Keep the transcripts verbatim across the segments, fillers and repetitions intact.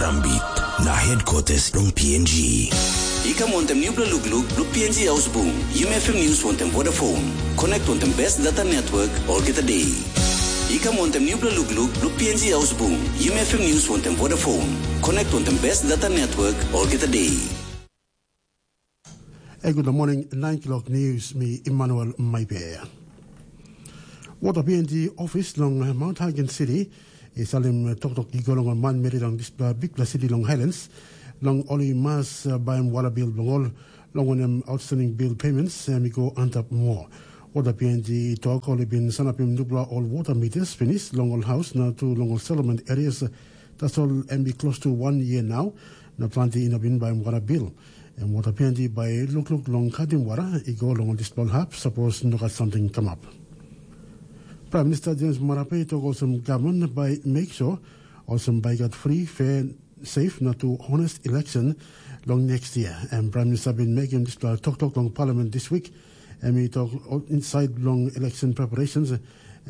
Ambit na headquarters long P N G. I kam wantem nupela lukluk blo P N G Ausbung, Yumi F M News wantem Vodafone. Connect wantem best data network olgeta day. I kam wantem nupela lukluk blo P N G Ausbung, Yumi F M News wantem Vodafone. Connect wantem best data network olgeta day. E, good morning, nine o'clock news, mi Emmanuel Maipe. Water P N G office long Mount Hagen City i salim toktok i go long ol manmeri long dispela bikpela siti long Highlands, long ol i mas uh, baim wara bil bilong ol, long wanem outstanding bill payments em i go antap moa. Water P N G i tok ol i bin sanapim nupela ol water meters pinis long ol haus na tu long ol settlement areas. Tasol em i close to one year now, na planti i no bin baim wara bil. Em water P N G bai lukluk long katim wara i go long dispela hap, sapos no gat samting kamap. Prime Minister James Marape i tok olsem gavman bai make sure olsem bai gat free, fair, safe na tu honest election long next year. Em Prime Minister bin mekim dispela toktok long parliament this week. Em i tok inside long election preparations,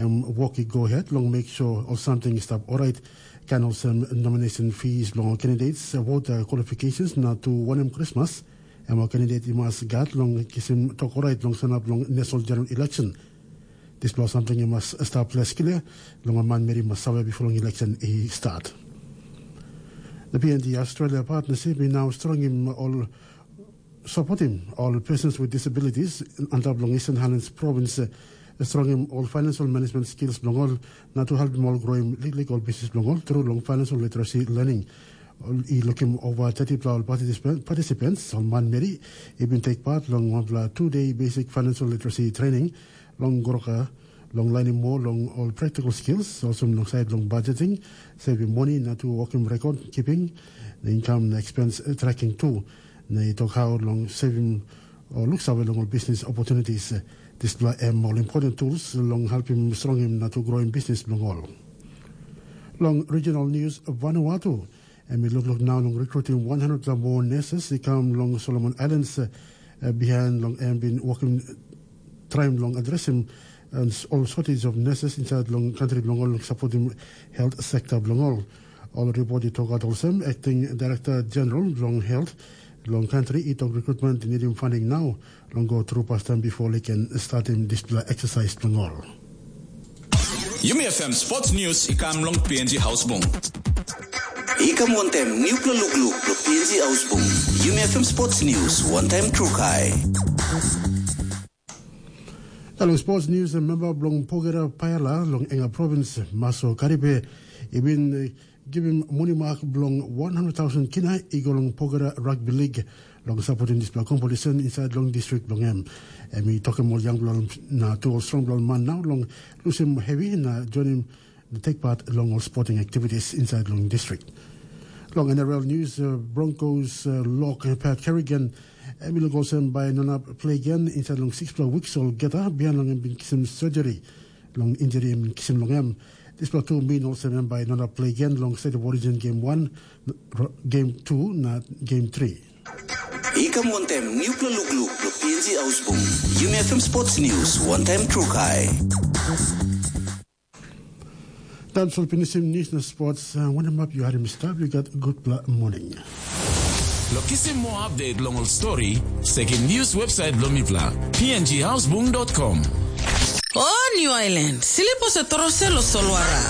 em work i go ahead long make sure ol samting i stap orait, kan olsem nomination fees long ol candidates, voter qualifications na tu wanem Christmas, em ol candidate i mas gat long kisim tok orait long sanap long national general election. Dispela samting i mas stap les klia long ol manmeri mas save before long election i start. The P N G Australia partnership i now strongim ol supportim ol persons with disabilities antap long Eastern Highlands Province, eh, strongim ol financial management skills bilong ol, na tu helpim ol groim liklik ol business bilong ol through long financial literacy learning. Ol i lukim over thirty pla ol participant, participants, ol manmeri, i bin take part long wanpela two-day basic financial literacy training long Goroka, long lainim moa long ol practical skills, olsem long side long budgeting, saving money, na tu working record keeping, na income na expense, eh, tracking tu. Na i tok how long saving o luksave long ol business opportunities. Eh, dispela em ol important tools long helpim strongim na tu growing business bilong ol. Long regional news, Vanuatu, em i lukluk nau long recruiting one hundred la moa nurses i kam long Solomon Islands, eh, behind long em bin working trying long addressing and s- all shortage of nurses inside long country bilong ol supporting health sector bilong ol. Ol report i tok out olsem acting director general bilong health long country i tok recruitment i needing funding now long go through pastan before they can starting dispela exercise bilong ol. Yumi F M Sports News i kam long P N G Hausbung. I kam wantem nupela lukluk lo P N G Ausbung. Yumi F M Sports News wantem Trukai. Long sports news, member bilong Pogera Paela long Enga Province, Maso Karipe, i bin eh, givim monimak bilong one hundred thousand kina i go long Pogera Rugby League long supporting dispela competition inside long district bilong em. Em i tokim ol young bilong na tu ol strong bilong man now long lusim heavy na joinim na take part long ol sporting activities inside long district. Long N R L news, uh, Broncos uh, lock uh, Pat Kerrigan, em i luk olsem bai no inap play again inside long sixpela weeks olgeta bihain long em bin kisim surgery long injury em bin kisim long em. Dispela tu mean olsem em bai no inap play again long State of Origin game one, game two na game three. I kam wantem nupela lukluk lo P N G Ausbung. Yumi F M Sports News wantem Trukai. Taim sol pinisim news na sports, uh, wanem ap yu harim i stap, yu gat gutpela morning. Lo kisim moa update long ol story, sekim news website bilong mipela, P N G Hausbung dot com. O New Island, silipo se torose lo solwara.